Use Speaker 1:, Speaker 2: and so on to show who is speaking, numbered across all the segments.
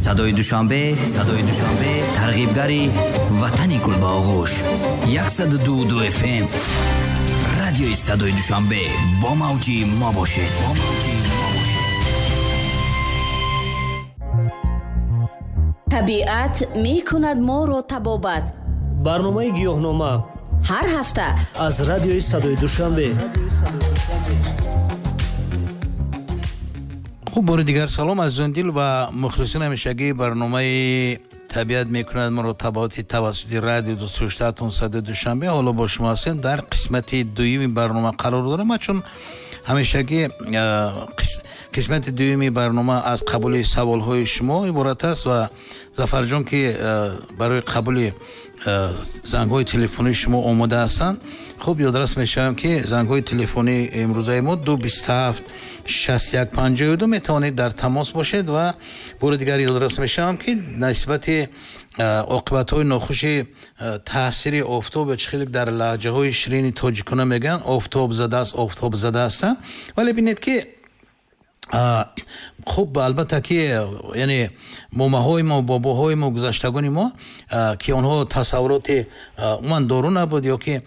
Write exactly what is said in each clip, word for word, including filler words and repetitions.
Speaker 1: Садои Душанбе, Садои Душанбе, тарғибгари ватани гул ба оғӯш. Яксаду ду ду F M. Радиои Садои Душанбе бо мавҷи мо бошед. Бо мавҷи мо бошед.
Speaker 2: Табиат мекунад моро табобат.
Speaker 3: Барномаи гиёҳнома
Speaker 2: ҳар ҳафта
Speaker 3: аз радиои Садои Душанбе.
Speaker 4: Хуб, бори дигар салом азизон дил ва мухлисони ҳамешагии барномаи табиат мекунад моро табобати тавассути радио дӯстдоштаатон Садои Душанбе. Ҳоло бо шумо ҳастем дар қисмати дуюми барнома қарор дорем ва чун ҳамешагӣ қисмати дуюми барнома аз қабули саволҳои шумо иборат аст ва Зафарҷон ки барои қабули зангҳои телефонии шумо омода ҳастанд, хуб ёдрас мешавам ки зангҳои телефонии имрӯзаи мо ду бисту ҳафт шасту як панҷоҳу ду метавонед дар тамос бошед ва бори дигар ёдрас мешавам ки нисбати оқибатҳои нохуши таъсири офтоб ё чӣ хеле дар лаҳҷаҳои ширини тоҷикона мегӯянд офтоб задааст, офтоб задааст. Вале бинед ки хуб, албатта ки яъне момаҳои мо, бобоҳои мо, гузаштагони мо ки онҳо тасаввуроти умуман дору набуд ё ки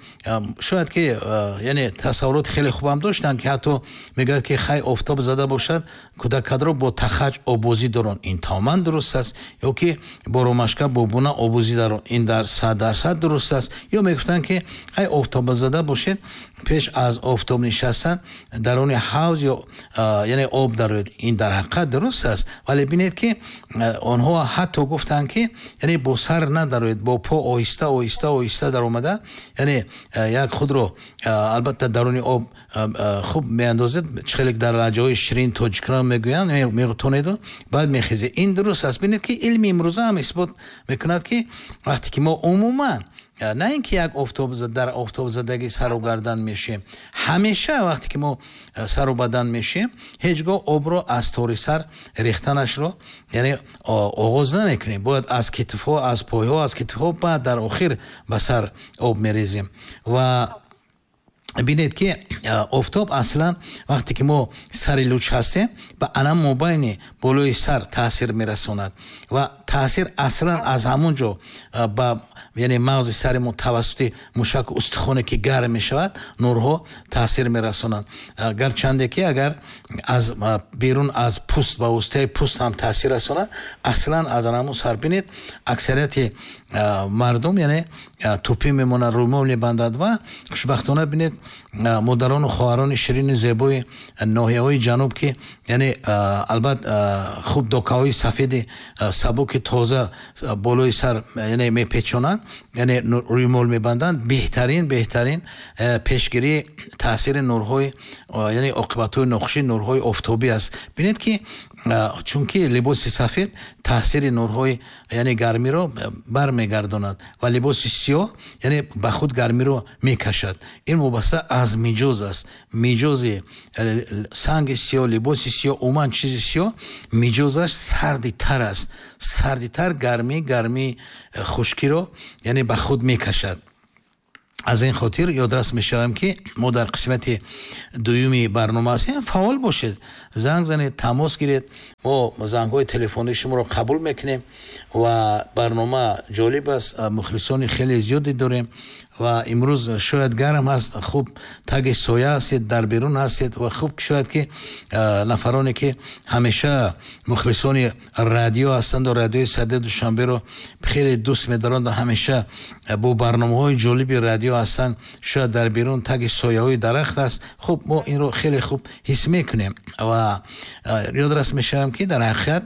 Speaker 4: шояд ки яъне тасаввуроти хеле хубам доштанд ки ҳатто мегӯяд ки хай офтоб зада бошад, кӯдакадро бо тахаҷ обозӣ дорон, ин тамоман дуруст аст, ё ки бо ромашка бо буна обозӣ дарон, ин дар сад дарсад дуруст аст, ё мегуфтанд ки хай офтоб зада бошед, пеш аз офтоб нишастан даруни ҳавз ё яъне об дарояд, ин дар ҳақиқат дуруст аст. Вале бинед ки онҳо ҳатто гуфтанд ки яъне бо сар надароед, бо по оҳиста оҳиста оҳиста даромада, яъне як худро албатта даруни об хуб меандозед, чӣ хеле дар лаҳҷаҳои ширин тоҷикона мегӯянд, метонеду баъд мехезед. Ин дуруст аст. Бинед ки илми имрӯза ҳам исбот мекунад ки вақте ки мо умуман на ин ки як офтоб дар офтобзадагӣ сару гардан мешем, ҳамеша вақте ки мо сару бадан мешем, ҳеҷ гоҳ обро аз тори сар рехтанашро яъне оғоз намекунем. Бояд аз китфҳо, аз пойҳо, аз китфҳо, баъд дар охир ба сар об мерезем. Ва бинед ки офтоб аслан вақте ки мо сари луч ҳастем, ба ана мобайни болои сар таъсир мерасонад ва таъсир аслан аз ҳамон ҷо ба яъне мағзи сари мо тавассути мушаку устухоне ки гарм мешавад, нурҳо таъсир мерасонанд. Гарчанде ки агар аз берун аз пӯст ба воситаи пӯст ҳам таъсир расонад, аслан аз ҳамон сар бинед аксарияти мардум яъне тӯпӣ мемонад, рӯмол мебандад ва хушбахтона бинед модарону хоҳарони ширини зебои ноҳияҳои ҷануб ки яъне албатта хуб докаҳои сафеди сабуки тоза болои сар яъне мепечонанд, яъне рӯймол мебанданд, беҳтарин беҳтарин пешгирии таъсири нурҳои яъне оқибатҳои нохуши нурҳои офтобӣ аст. Бинед ки чунки либоси сафед таъсири нурҳои яъне гармиро бармегардонад ва либоси сиёҳ яъне ба худ гармиро мекашад. Ин вобаста аз миҷоз аст. Миҷози санги сиёҳ, либоси сиёҳ, умуман чизи сиёҳ миҷозаш сардитар аст. Сардитар гармӣ, гармии хушкиро яъне ба худ мекашад. Аз ин хотир ёдрас мешавам ки мо дар қисмати дуюми барнома ҳастем. Фаъол бошед, занг занед, тамос гиред. Мо зангҳои телефонии шуморо қабул мекунем ва барнома ҷолиб аст, мухлисони хеле зиёде дорем ва имрӯз шояд гарм аст, хуб таги соя ҳастед, дар берун ҳастед ва хуб шояд ки нафароне ки ҳамеша мухлисони радио ҳастанд ва радиои Садои Душанберо хеле дӯст медоранд ва ҳамеша бо барномаҳои ҷолиби радио ҳастанд, шояд дар берун таги сояҳои дарахт аст. Хуб, мо инро хеле хуб ҳис мекунем ва ёдрас мешавам ки дар ҳақиқат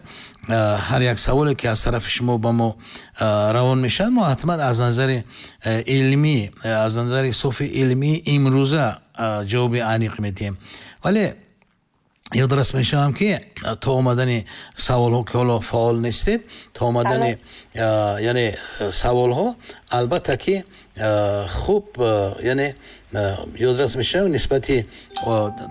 Speaker 4: ҳар як саволе ки аз тарафи шумо ба мо равон мешавад, мо ҳатман аз назари илмӣ, аз назари софи илмии имрӯза ҷавоби аниқ медиҳем. Вале ёдрас мешавам ки то омадани саволҳо ки ҳоло фаъол нестед, то омадани яъне саволҳо албатта ки хуб яъне ёдрас мешавам нисбати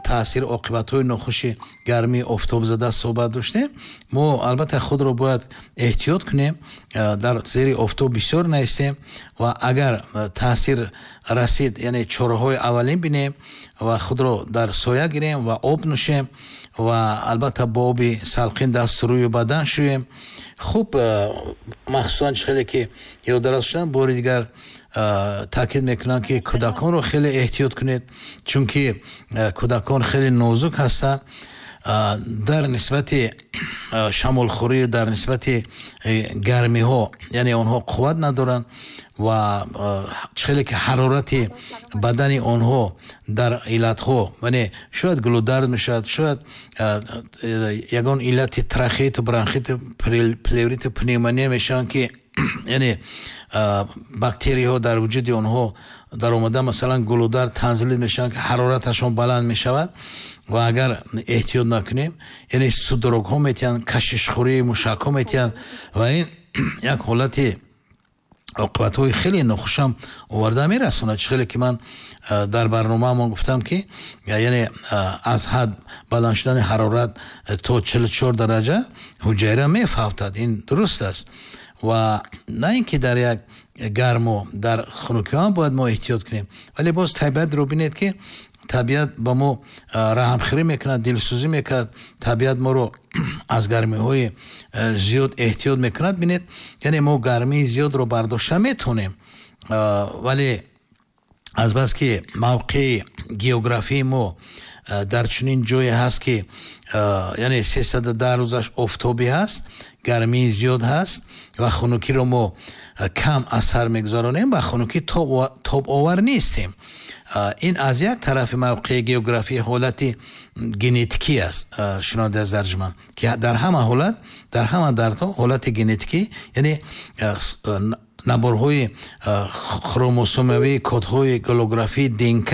Speaker 4: таъсири оқибатҳои нохуши гармии офтобзада суҳбат доштем. Мо албатта худро бояд эҳтиёт кунем, дар зери офтоб бисёр наистем ва агар таъсир расид яъне чораҳои аввалин бинем ва худро дар соя гирем ва об нӯшем Ва албатта бо оби салқин даст, рӯю бадан шӯем. Хуб, махсусан хеле ки ёдрас шудам, бори дигар таъкид мекунам, ки кӯдаконро хеле эҳтиёт кунед, чунки кӯдакон хеле нозук ҳастанд дар нисбати шамолхӯрӣ, дар нисбати гармиҳо, яъне онҳо қувват надоранд ва хеле ки ҳарорати бадани онҳо дар иллатҳо, яъне шояд гулудард мешавад, шояд ягон иллати трахеиту, бронхиту, плевриту, пневмония мешаванд, ки яъне бактерияҳо дар вуҷуди онҳо даромада, масалан гулудард, танзилит мешаванд, ки ҳарораташон баланд мешавад. Ва агар эҳтиёт накунем, яъне судорогҳо метиҳанд, кашишхӯрии мушакҳо метиҳанд ва ин як ҳолати оқибатҳои хеле нохушам оварда мерасонад. Чӣ хеле ки ман дар барномаамон гуфтам, ки яъне аз ҳад баланд шудани ҳарорат то чилу чор дараҷа ҳуҷайра мефавтад. Ин дуруст аст. Ва на ин ки дар як гарму дар хунукиҳо ҳам бояд мо эҳтиёт кунем, вале боз табиатро бинед, ки табиат ба мо раҳмхӯрӣ мекунад, дилсӯзӣ мекунад, табиат моро аз гармиҳои зиёд эҳтиёт мекунад. Бинед, яъне мо гармии зиёдро бардошта метавонем, вале азбаски мавқеи географии мо дар чунин ҷое ҳаст, ки яъне сесаду даҳ рӯзаш офтобӣ ҳаст, гармии зиёд ҳаст ва хунукиро мо кам асар мегузаронем, ба хунукӣ тобовар нестем. Ин аз як тарафи мавқеи географии ҳолати генетикӣ аст, шунавандаи аз дарҷман, ки дар ҳама ҳолат, дар ҳама дардҳо ҳолати генетикӣ, яъне наборҳои хромосомавии кодҳои голографии ДНК,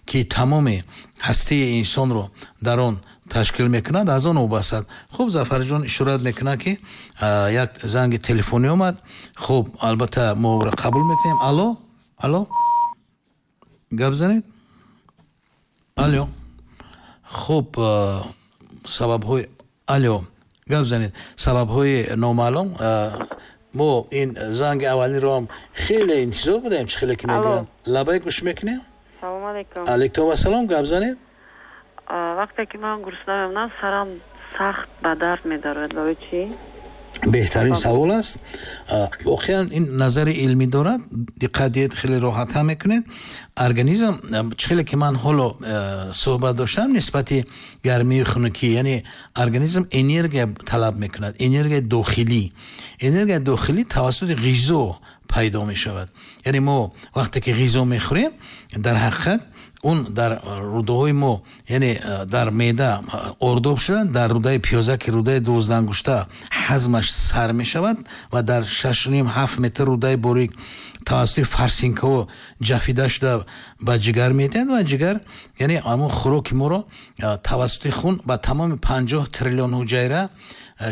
Speaker 4: ки тамоми ҳастии инсонро дар он ташкил мекунад, аз он вобастад. Хуб, Зафарҷон ишорат мекунад, ки як занги телефонӣ омад. Хуб, албатта мо ӯро қабул мекунем. Алло, алло, гап занед. Алло. Хуб, сабабҳои, алло, гап занед, сабабҳои номаълум. Мо ин занги аввалинро ҳам хеле интизор будем, чӣ хеле ки мегӯянд. Лабай, гӯш мекунем.
Speaker 5: Салом алейкум.
Speaker 4: Алейкум ассалом, гап занед.
Speaker 5: Вақте ки ман гурусна мемонам, сарам сахт ба дард медорад. Барои чӣ?
Speaker 4: Беҳтарин савол аст. Воқеан ин назари илмӣ дорад. Диққат диҳед, хеле роҳатҳам мекунед. Организм, чӣ хеле ки ман ҳоло суҳбат доштам нисбати гармию хунукӣ, яъне организм энергия талаб мекунад, энергияи дохилӣ. Энергияи дохилӣ тавассути ғизо пайдо мешавад. Яъне мо вақте ки ғизо мехӯрем, дар ҳақиқат он дар рӯдаҳои мо, яъне дар меъда ордоб шуда, дар рӯдаи пиёза, ки рӯдаи дувоздаҳангушта, ҳазмаш сар мешавад ва дар шашним ҳафт метр рӯдаи борик тавассути фарсинкаҳо ҷафида шуда ба ҷигар метиҳад ва ҷигар, яъне ҳамон хӯроки моро тавассути хун ба тамоми панҷоҳ триллион ҳуҷайра,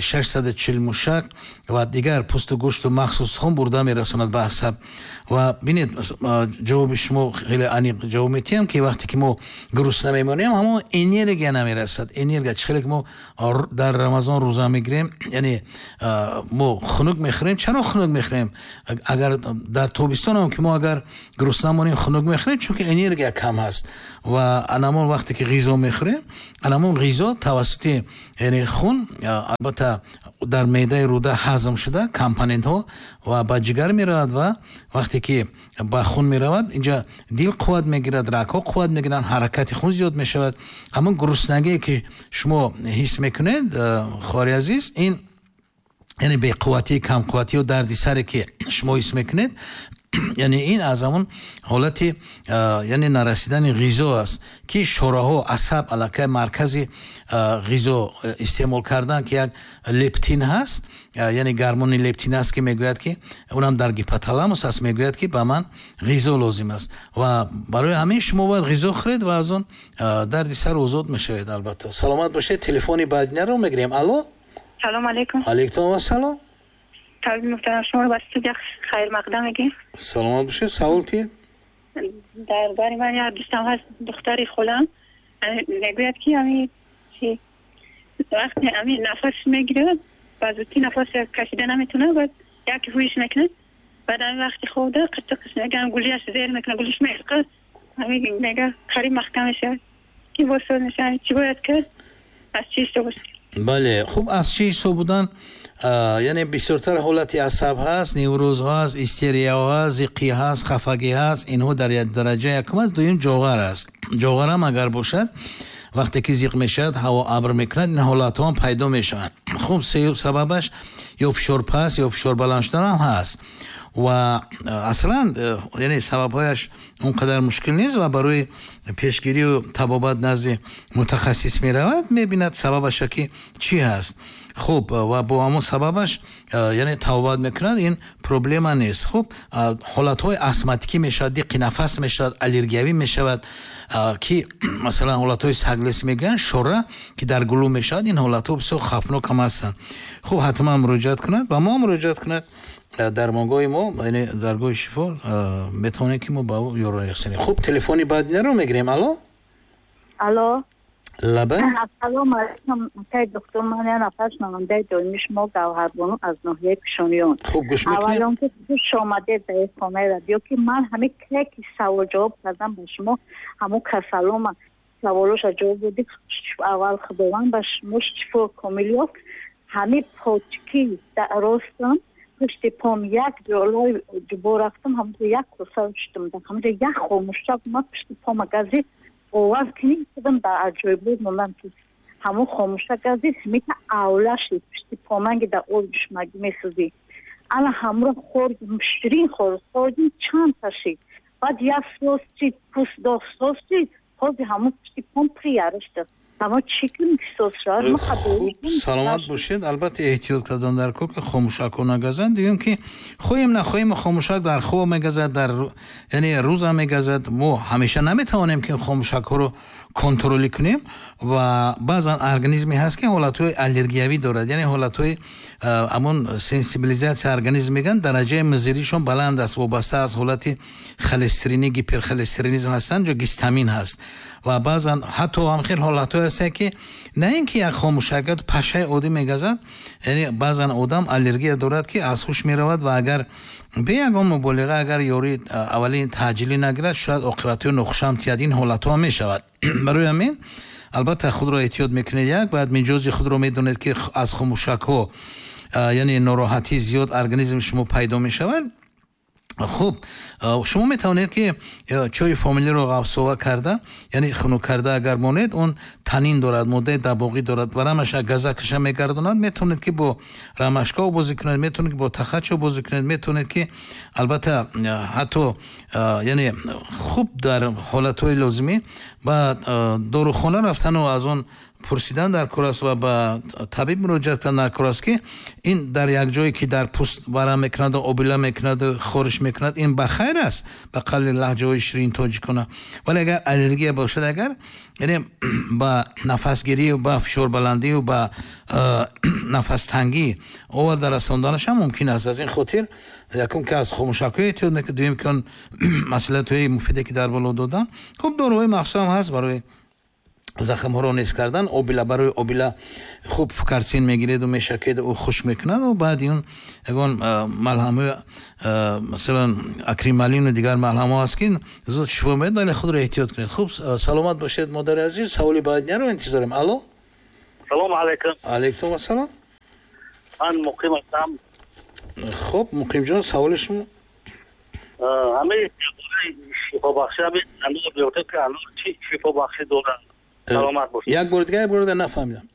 Speaker 4: шашсаду чил мушак ва дигар пӯсту гӯшту махсус хун бурда мерасонад ба асаб. Ва бинед, ҷавоби шумо хеле аниқ ҷавоб метиҳам, ки вақте ки мо гурусна мемонем, ҳамон энергия намерасад. Энергия, чӣ хеле ки мо дар Рамазон рӯза мегирем, яъне мо хунук мехӯрем. Чаро хунук мехӯрем? Агар дар тобистон ҳам ки мо агар гурусна монем, хунук мехӯрем, чунки энергия кам ҳаст. Ва анамон вақте ки ғизо мехӯрем, анамон ғизо тавассути, яъне хун, албатта дар меъдаи рӯда ҳазм шуда компонентҳо ва ба ҷигар меравад ва вақте ки ба хун меравад, инҷа дил қувват мегирад, рагҳо қувват мегиранд, ҳаракати хун зиёд мешавад. Ҳамон гуруснагие ки шумо ҳис мекунед, хоҳари азиз, ин яъне беқувватӣ, камқувватӣ ё дарди саре ки шумо ҳис мекунед, яъне ин аз ҳамон ҳолати, яъне нарасидани ғизо аст, ки шораҳо, асаб аллакай маркази ғизо истеъмол кардан, ки як лептин ҳаст, яъне гормони лептин аст, ки мегӯяд, ки унам дар гипоталамус аст, мегӯяд, ки ба ман ғизо лозим аст. Ва барои ҳамин шумо бояд ғизо хӯред ва аз он дарди сар озод мешавед. Албатта, саломат бошед. Телефони баъдинаро мегирем. Алло,
Speaker 6: салом алейкум.
Speaker 4: Алейкум ассалом.
Speaker 6: Табиб муҳтарам, шуморо ба студия хайрмақдам мегӯем.
Speaker 4: Саломат бошед. Савол тиед.
Speaker 6: Дар бари ман як дӯстам ҳаст, духтари холам, мегӯяд, ки ҳами чи вақте ҳами нафас мегирад, ба зудӣ нафас кашида наметавонад, баъд яке ҳуиш мекунад, баъд ҳами вақти хобда қиртиқиш мегӯям, гулияш зер мекунад, гулиш меқад, ҳами мега қариб маҳкам мешавад, ки боз соз мешавад. Чӣ бояд кард? Аз чӣ ҳисоб аст?
Speaker 4: Бале, хуб, аз чӣ ҳисоб будан, яъне бисёртар ҳолати асаб ҳаст, невроз ҳаст, истерияҳо ҳаст, зиқӣ ҳаст, хафагӣ ҳаст. Инҳо дар дараҷа якум аст. Дуюм ҷоғар аст. Ҷоғар ҳам агар бошад, вақте ки зиқ мешавад, ҳаво абр мекунад, ин ҳолатҳо ҳам пайдо мешаванд. Хуб, сеюм сабабаш ё фишор паст ё фишор баланд шудан ҳам ҳаст ва аслан яъне сабабҳояш он қадар мушкил нест ва барои пешгирию табобат назди мутахассис меравад, мебинад сабабаша ки чӣ ҳаст. Хуб, ва бо ҳамон сабабаш яъне табобат мекунад, ин проблема нест. Хуб, ҳолатҳои астматикӣ мешавад, диққи нафас мешавад, аллергиявӣ мешавад, ки масалан ҳолатҳои саглес мегӯянд, шора ки дар гулӯ мешавад, ин ҳолатҳо бисёр хавфнок ҳам ҳастанд. Хуб, ҳатман муроҷиат кунад, ба мо муроҷиат кунад. Дармонгоҳи мо, яъне даргоҳи шифо, метавонем ки мо ба ӯ ёрӣ расонем. Хуб, телефони баъдинаро мегирем. Алло?
Speaker 7: Алло.
Speaker 4: Лаба?
Speaker 7: Ассалому алайкум, акай доктор, ман як нафар шунавандаи доимии шумо Гавҳарбону аз ноҳияи Пишониён.
Speaker 4: Хуб, гӯш мекунем.
Speaker 7: Аввалон ки хуш омадед ба ин хонаи радио, ки ман ҳамин ки савол ҷавоб кардам ба шумо, ҳамон касалома саволоша ҷавоб додед. Аввал Худованд ба шумо шифо комил ёфт. Ҳамин почки ростам пушти пом як ҷолои ҷубо рафтам, ҳамонҷо як коса шудам, ҳамонҷо як хомӯшак омад пушти пома газид, оваз кунӣ шудам, дар аҷоибот мондам ки ҳамон хомӯшак газид, ҳамита авла шуд пушти поманги дар об душмагӣ месӯзӣ. Ана ҳамро хӯрдим, ширин хӯрд, хӯрдим чанд та шид. Баъд як сос чид, пӯст дошт сос чид, ҳозир ҳамон пушти пом прияра шуд. Ҳамон чӣ кунем ки сос шавад?
Speaker 4: Хуб, саломат бошед. Албатта эҳтиёт кардан дар кор ки хомӯшакҳо нагазанд. Дуюм ки хоҳем нахоҳем хомӯшак дар хоб мегазад, дар яъне рӯзам мегазад. Мо ҳамеша наметавонем ки хомӯшакҳоро контролӣ кунем ва баъзан организме ҳаст ки ҳолатҳои аллергиявӣ дорад, яъне ҳолатҳои ҳамон сенсибилизатсия организм мегӯянд, дараҷаи мизиришон баланд аст, вобаста аз ҳолати холестеринӣ, гиперхолестеринизм ҳастанд, ҷо гистамин ҳаст ва баъзан ҳатто ҳам хел ҳолатҳое ҳастанд ки на ин ки як хомӯшак пашаи оддӣ мегазад, яъне баъзан одам аллергия дорад ки аз ҳуш меравад ва агар бе ягон муболиға, агар ёрии аввалин таъҷилӣ нагирад, шояд оқибатҳои нохушам тиҳад. Ин ҳолатҳо ҳам мешавад. Барои ҳамин албатта худро эҳтиёт мекунед, як баъд миҷози худро медонед ки аз хомӯшакҳо яъне нороҳатии зиёд организми шумо пайдо мешавад. Хуб, шумо метавонед ки чойи фомилиро ғафсова карда, яъне хунук карда агар монед, он танин дорад, моддаи дабоғӣ дорад ва рамаша газакаша мегардонад. Метавонед ки бо рамашка бозӣ кунед, метавонед ки бо тахачо бозӣ кунед, метавонед ки албатта ҳатто яъне хуб дар ҳолатҳои лозимӣ ба дорухона рафтану аз он пурсидан дар кор аст ва ба табиб муроҷиат кардан дар кор аст ки ин дар як ҷое ки дар пӯст варам мекунаду обила мекунаду хориш мекунад, ин ба хайр аст, ба қавли лаҳҷаҳои ширин тоҷикона. Вале агар аллергия бошад, агар яъне ба нафасгирию ба фишорбаландию ба нафастангӣ оварда расонданаш ҳам мумкин аст. Аз ин хотир якум ки аз хомӯшакҳо эҳтиёт мекунед, дуюм ки он масъалатҳои муфиде ки дар боло додам. Хуб, доруҳои махсус ҳам ҳаст барои захмҳоро нес кардан. Обила, барои обила хуб фукарсин мегиреду мешакеду ӯ хуш мекунад ва баъди он ягон малҳамҳои масалан акрималину дигар малҳамҳо ҳаст ки зуд шифо медиҳад, вале худро эҳтиёт кунед. Хуб, саломат бошед модари азиз. Саволи баъдинаро интизорем. Алло?
Speaker 8: Салому алайкум.
Speaker 4: Алайкум ассалом.
Speaker 8: Ман муқим ҳастам.
Speaker 4: Хуб, муқимҷон, саволи шумо?
Speaker 8: Ҳамаи шифобахши ҳамин анор меёфтед ки анор чӣ шифобахшӣ дорад? Саломат бошед.
Speaker 4: Як бор дигар, як бор дигар нафаҳмидам.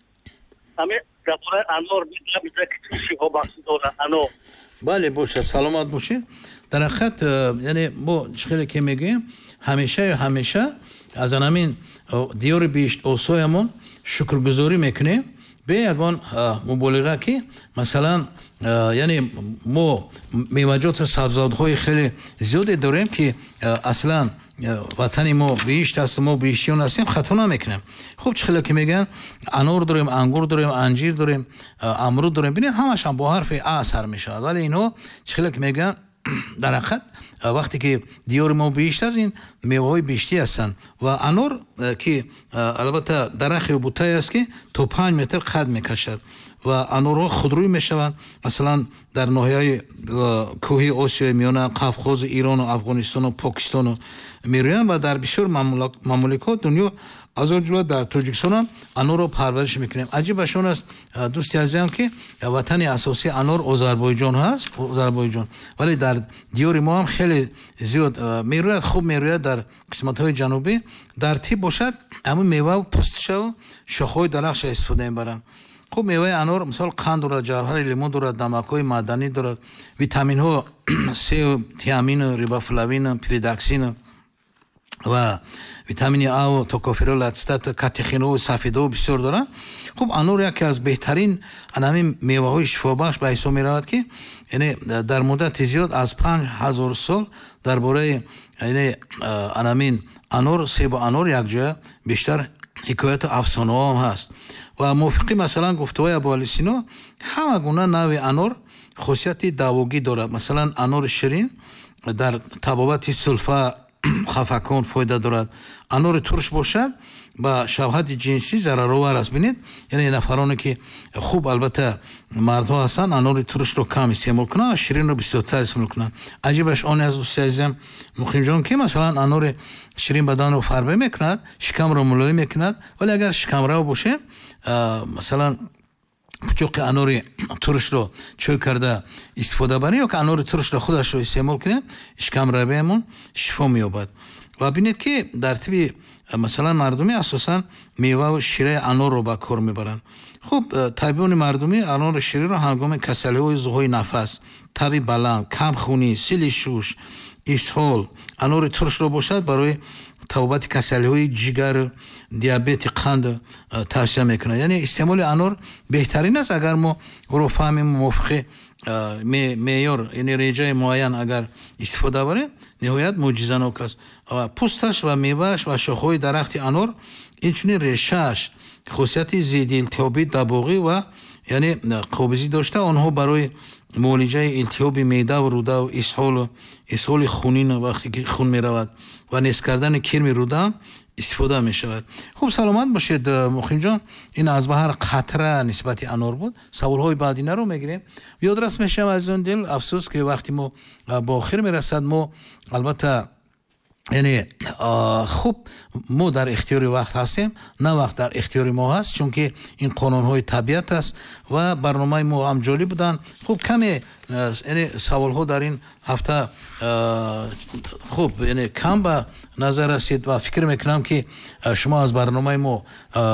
Speaker 8: Ҳамин дар бораи анор мегӯяд ки чӣ шифобахшӣ дорад анор.
Speaker 4: Бале, бошад, саломат бошед. Дар ҳақиқат яъне мо чӣ хеле ки мегӯем, ҳамеша ё ҳамеша аз ҳамин диёри биҳишт осоямон шукргузорӣ мекунем бе ягон муболиға ки масалан яъне мо меваҷоту сабзавотҳои хеле зиёде дорем ки аслан ватани мо биҳишт аст, мо биҳиштиён ҳастем, хато намекунем. Хуб, чӣ хеле ки мегӯянд, анор дорем, ангур дорем, анҷир дорем, амруд дорем. Бинед, ҳамашам бо ҳарфи а сар мешавад, вале инҳо чӣ хеле ки мегӯянд, дар ҳақиқат вақте ки диёри мо биҳишт аст, ин меваҳои биҳиштӣ ҳастанд. Ва анор ки албатта дарахти бутае аст ки то панҷ метр қад мекашад ва анорҳо худрӯй мешаванд. Масалан дар ноҳияи кӯҳи Осиёи Миёна, Қавқози Ирону Афғонистону Покистону мерӯянд ва дар бисёр мамоликҳо дунё Аз он ҷумла дар Тоҷикистон ҳам анорро парвариш мекунем. Аҷибаш он аст, дӯсти азизам, ки ватани асосии анор Озарбойҷон ҳаст, Озарбойҷон, вале дар диёри мо ҳам хеле зиёд мерӯяд, хуб мерӯяд дар қисматҳои ҷанубӣ. Дар тиб бошад, ҳамун мева пӯстшаву шохҳои дарахтша истифода мебаранд. Хуб, меваи анор мисол қанд дорад, ҷавҳари лимон дорад, намакҳои маъданӣ дорад, витаминҳо С, тиамин, рибофлавин, пиридоксин ва витамини А, токоферол, ацетат, катехинҳо, сафедҳо бисёр дорад. Хуб, анор яке аз беҳтарин ҳамин меваҳои шифобахш ба ҳисоб меравад, ки яъне дар муддати зиёд аз панҷ ҳазор сол дар бораи яъне ҳамин анор, себу анор якҷоя бештар ҳикояту афсонаҳо ҳам ҳаст. Ва мувофиқи масалан гуфтаҳои Абуалӣ Сино, ҳама гуна нави анор хосияти давогӣ дорад. Масалан, анори ширин дар табобати сулфа, хафакон фоида дорад. Анори турш бошад, ба шавҳати ҷинсӣ зараровар аст. Бинед, яъне нафароне ки хуб, албатта мардҳо ҳастанд, анори туршро кам истеъмол кунанд, ширинро бисёртар истеъмол кунанд. Аҷибаш он аст, дӯсти азизам Муқимҷон, ки масалан анори ширин баданро фарбе мекунад, шикамро мулоим мекунад, вале агар шикамрав бошем, масалан пучоқи анори туршро чой карда истифода барем ё ки анори туршро худашро истеъмол кунем, шикамравиамон шифо меёбад. Ва бинед, ки дар тиби масалан мардумӣ асосан меваву шираи анорро ба кор мебаранд. Хуб, табибони мардумӣ анори ширинро ҳангоми касалиҳои узвҳои нафас, таби баланд, камхунӣ, сили шуш, исҳол, анори туршро бошад барои табобати касалиҳои ҷигар, диабети қанд тавсия мекунад. Яъне истеъмоли анор беҳтарин аст, агар мо ӯро фаҳмем, мувофиқи меъёр, яъне реҷаи муайян агар истифода барем, ниҳоят мӯъҷизанок аст. Пӯсташ ва мевааш ва шохҳои дарахти анор, инчунин решааш хосияти зидди илтиҳобӣ, дабоғӣ ва яъне қобизӣ дошта, онҳо барои муолиҷаи илтиҳоби меъдаву рӯдаву исҳолу исҳоли хунин, вақте ки хун меравад, ва нест кардани кирми рӯда истифода мешавад. Хуб, саломат бошед, Муқимҷон. Ин аз баҳар қатра нисбати анор буд. Саволҳои баъдинаро мегирем. Ёдрас мешавам, азизон дил, афсӯс ки вақти мо ба охир мерасад. Мо албатта яъне хуб, мо дар ихтиёри вақт ҳастем, на вақт дар ихтиёри мо ҳаст, чунки ин қонунҳои табиат аст ва барномаи мо ҳам ҷолиб буданд. Хуб, каме яъне саволҳо дар ин ҳафта хуб яъне кам ба назар расид ва фикр мекунам, ки шумо аз барномаи мо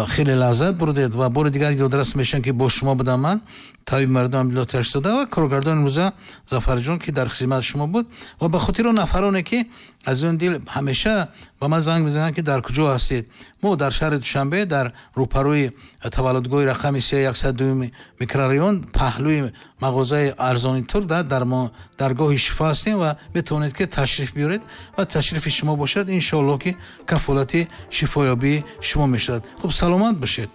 Speaker 4: хеле лаззат бурдед. Ва бори дигар ёдрас мешавам, ки бо шумо будам ман, табиби мардум Абдулло Ташзода, ва коргардони имрӯза Зафарҷон, ки дар хизмати шумо буд. Ва ба хотири он нафароне, ки аз он дил ҳамеша ба ман занг мезананд, ки дар куҷо ҳастед, мо дар шаҳри Душанбе, дар рӯпарӯи таваллудгоҳи рақами се яксад дуюми микрорайон, паҳлӯи мағозаи арзони тур, дар даргоҳи шифо ҳастем ва метавонед, ки ташриф биёред ва ташрифи шумо бошад, иншоаллоҳ, ки кафолати шифоёбии шумо мешавад. Хуб, саломат бошед.